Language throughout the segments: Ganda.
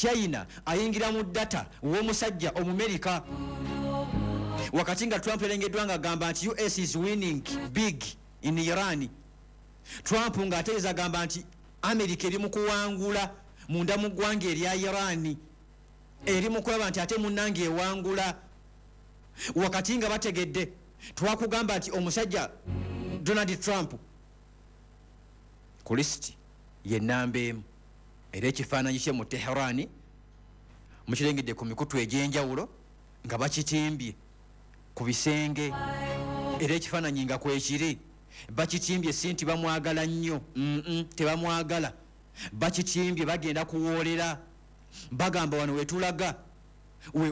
China ayingira mu data w'omusajja Omumerika, wakati nga Trump yalengeddwa nga agamba nti US is winning big in Iran. Trump ng'ategeeza agamba nti America eri mu kuwangula munda mu ggwanga erya Iran, eri mu kulaba nti ate munnange ewangula, wakati nga bategedde. Twakugamba nti omusajja Donald Trump ku lisiti ye namba 1, era ekifaananyi kye mu Teherani mukirengedde ku mikutu egy'enjawulo nga bakitimbye ku bisenge, era ekifaananyi nga kwekiri bakitimbye. Si nti bamwagala nnyo, tebamwagala, bakitimbye bagenda kuwoolera. Bagamba wano wetulaga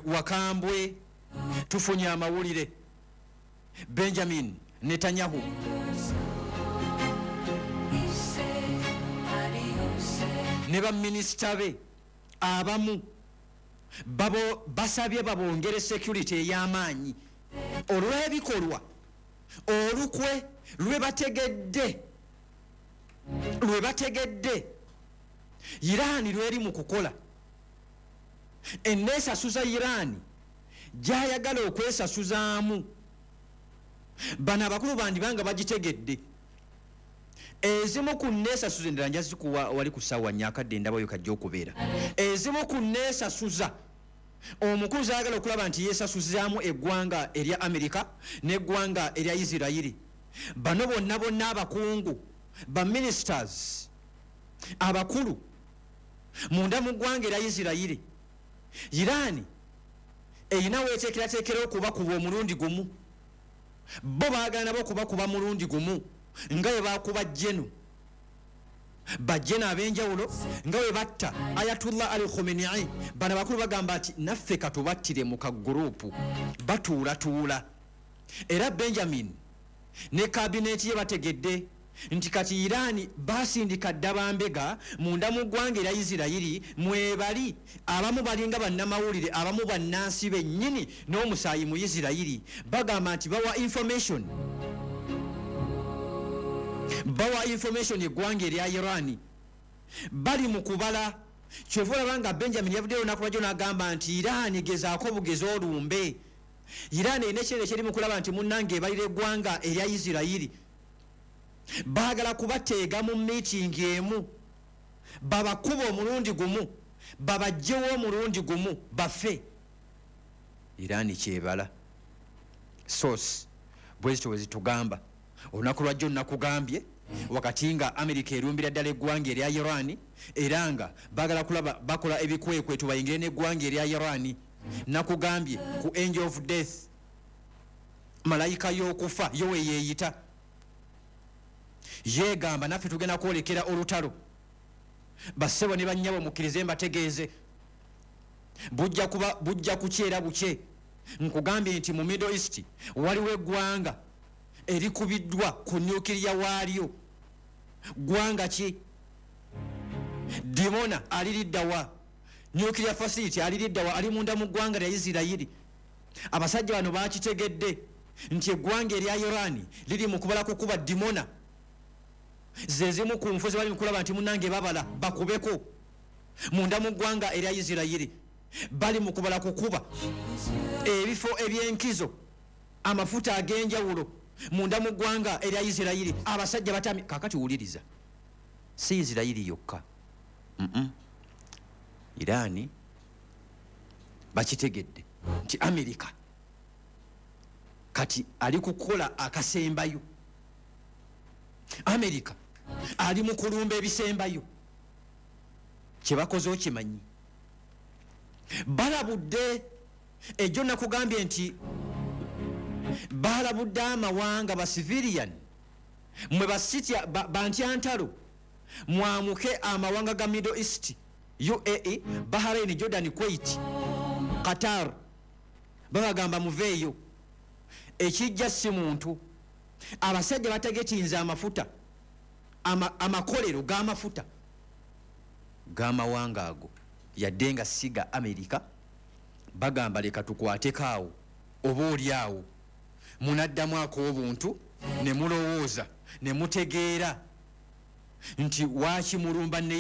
wakambwe. Tufunye amawulire, Benjamin Netanyahu ne baminisita be abamu basabye babongere security ey'amaanyi olw'ebikolwa olukwe lwe bategedde Iraani lweri mu kukola eneesasuza. Iraani gyayagala okwesasuzaamu, bano abakulu bandibanga bagitegedde. Ezimu ku neesasuza endala njazikuwa wali ku ssaawa 4, akadde endabayo kajja okubeera. Ezimu ku neesasuza omukulu zayagala okulaba nti yeesasuzaamu eggwanga erya Amerika n'eggwanga erya Isirayiri, bano bonna bonna abakungu, baministers abakulu munda mu ggwanga erya Isirayiri, Iraani erina weeteekerateekera okubakuba omulundi gumu. Bo baagala nabo okubakuba mulundi gumu nga bwe bakuba jeno bajjeno ab'enjawulo, nga bwe batta Ayatullah Ali Khomenei. Bano abakulu bagamba nti naffe katubattire mu kagurupu batuulatuula. Era Benjamin ne kabineeti ye bategedde nti kati Iraani basindika dda bambega munda mu ggwanga erya Isirayiri mwebali. Abamu balinga bannamawulire, abamu bannansi bennyini n'omusaayi mu Isirayiri. Bagamba nti bawa information eggwanga erya Iraani. Bali mu kubala. Kyova olaba nga Benjamin yavuddeyo olunaku lwajjo n'agamba nti Iraani gezaako bugezi olumbe. Iraani erina ekinene kyeri mu kulaba nti munnange ebalira eggwanga erya Isirayiri. Baagala kubateega mu miitingi emu, babakuba omulundi gumu, babajjewo omulundi gumu, bafe. Iraani kyebala source bwezityo bwe zitugamba olunaku lwajjo. Nakugambye wakati nga Amerika erumbira ddala eggwanga erya Iran, era nga baagala kulaba bakola ebikwekweto bayingire n'eggwanga erya Iran. Nakugambye ku angel of death, malayika y'okufa, yo weyeeyita, yeegamba naffe tugenda kwolekera olutalo. Bassebo ne bannyabo, mukkirize mbategeeze, bujja kuba bujja kukyera bukye. Nkugambye nti mu Middle East waliwo eggwanga erikubiddwa ku nuclear waalyo. Ggwanga ki? Dimona aliriddawa? Nuclear facility aliriddawa? Ali munda mu ggwanga lya Isirayiri. Abasajja bano bakitegedde nti eggwanga erya Iran liri mu kubala kukuba Dimona. Zezimu ku nfu zebali mukulaba nti munange babala bakubeko munda mu ggwanga erya Isirayiri. Bali mu kubala kukuba ebifo ebyenkizo, amafuta ag'enjawulo munda mu ggwanga erya Isirayiri. Abasajja batami. Kakati wuliriza, si Isirayiri yokka. Iraani bakitegedde nti Amerika kati ali kukola akasembayo, Amerika ali mu kulumba ebisembayo. Kyebakoze okimanyi? Balabudde ejjo, nakugambye nti balabudde amawanga, ba civilian mwe basitya bantyantalo, mwamuke amawanga ga Middle East, UAE, Bahrain, Jordan, Kuwait, Qatar. Babagamba muveeyo, ekijja si muntu. Abasajja bategetinze amafuta, amakolero g'amafuta g'amawanga ago, yadde nga siga Amerika. Bagamba leka tukwateko awo, oba oli awo munaddamu ak'obuntu ne mulowooza ne mutegeera nti waaki mulumba ne